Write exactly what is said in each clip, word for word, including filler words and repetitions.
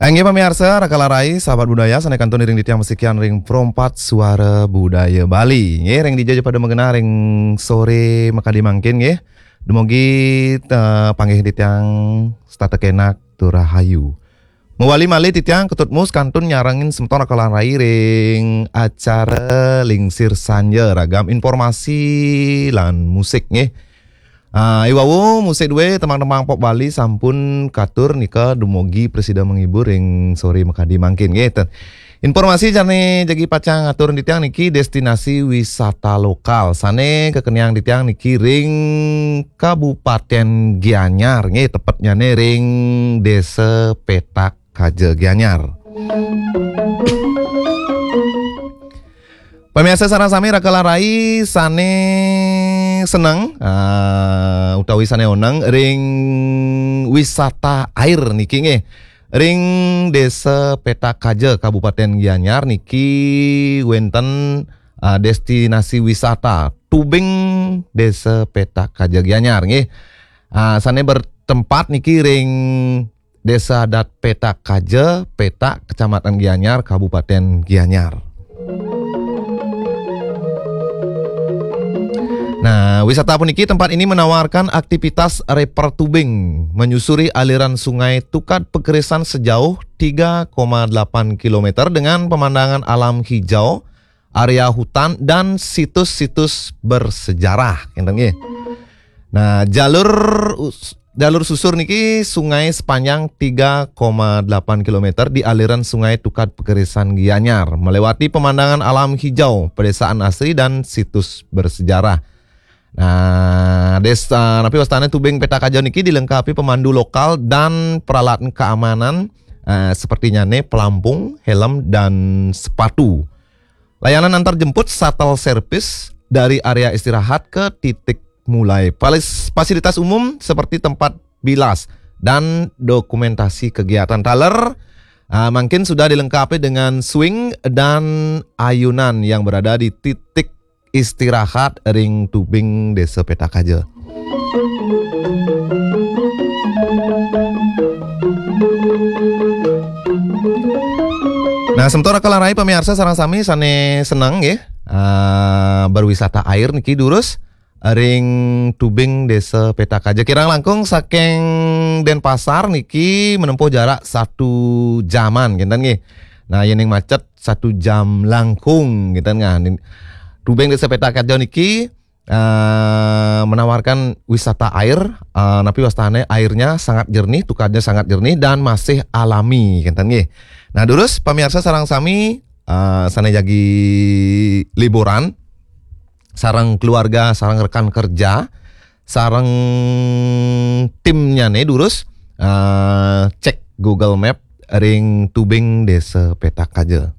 Inggih pamiarsa, Rakala Rai, sahabat budaya, sané kantun iring titiang masikian ring Pro empat Suara Budaya Bali. Nggih, ring dija ja pada magenah ring soré makadi mangkin nggih. Dumugi, eh, panggih titiang setata kénak tur rahayu. Mawali malih titiang Ketut Mus kantun nyarengin semeton Rakala Rai ring acara Lingsir Sanja, ragam informasi lan musik nggih. Ah, i wau musik dué tembang-tembang pop Bali sampun katur nika dumugi prasida menghibur ring soré makadi mangkin nggih. Ten-, informasi sané jagi pacang atur titiang niki destinasi wisata lokal sané kakeniang titiang niki ring Kabupaten Gianyar nggih, tepetnyané ring Desa Petak Kaja Gianyar. Pamiarsa sareng sami, Rakala Rai sané seneng, ah, utawi sané oneng ring wisata air niki nggih. Ring Desa Petak Kaja, Kabupaten Gianyar niki wénten, ah, destinasi wisata Tubing Desa Petak Kaja Gianyar nggih. Ah, sané bertempat niki ring Desa Adat Petak Kaja, Petak, Kecamatan Gianyar, Kabupaten Gianyar. Nah, wisata puniki, tempat ini menawarkan aktivitas reper tubing, menyusuri aliran Sungai Tukad Pekerisan sejauh tiga koma delapan kilometer dengan pemandangan alam hijau, area hutan, dan situs-situs bersejarah. Ngéten nggih. Nah, jalur us-, jalur susur niki sungai sepanjang tiga koma delapan kilometer di aliran Sungai Tukad Pekerisan Gianyar, melewati pemandangan alam hijau, pedesaan asri, dan situs bersejarah. Nah, desa, napi wastané, Tubing Petak Kaja niki dilengkapi pemandu lokal dan peralatan keamanan, eh, sepertinyané pelampung, helm, dan sepatu. Layanan antar jemput, shuttle service, dari area istirahat ke titik mulai. Falis-, fasilitas umum seperti tempat bilas dan dokumentasi kegiatan. Taler, ah, mangkin sudah dilengkapi dengan swing dan ayunan yang berada di titik istirahat ring Tubing Desa Petak Kaja. Nah, semeton Rakala Rai pamiarsa sareng sami sané seneng nggih, ah, berwisata air niki durus ring Tubing Desa Petak Kaja. Kirang langkung saking Denpasar niki menempuh jarak satu jaman, ngéten nggih. Nah, yén ning macet satu jam langkung, ngéten nggih. Tubing Desa Petak Kaja niki, eh, menawarkan wisata air, eh, napi wastané, airnya sangat jernih, tukadnya sangat jernih dan masih alami, ngéten nggih. Nah, durus pamiarsa sareng sami, eh, sané jagi liburan, sareng keluarga, sareng rekan kerja, sareng timnyané durus, eh, cek Google Map ring Tubing Desa Petak Kaja.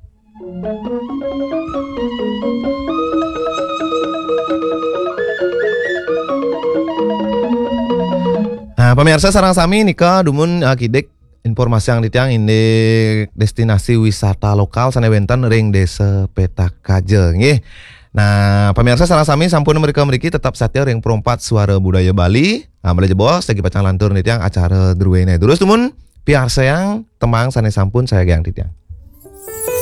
Nah, pamiarsa sareng sami, nika dumun, eh, kidik informasiang titiang indik destinasi wisata lokal sané wénten ring Desa Petak Kaja nggih. Nah, pamiarsa sareng sami sampun mrika mriki, tetap satia ring Pro empat Suara Budaya Bali. Nah, malih jebos jagi pacang lantur titiang acara druéné. Durus dumun piarsayang tembang sané sampun sayagiang titiang.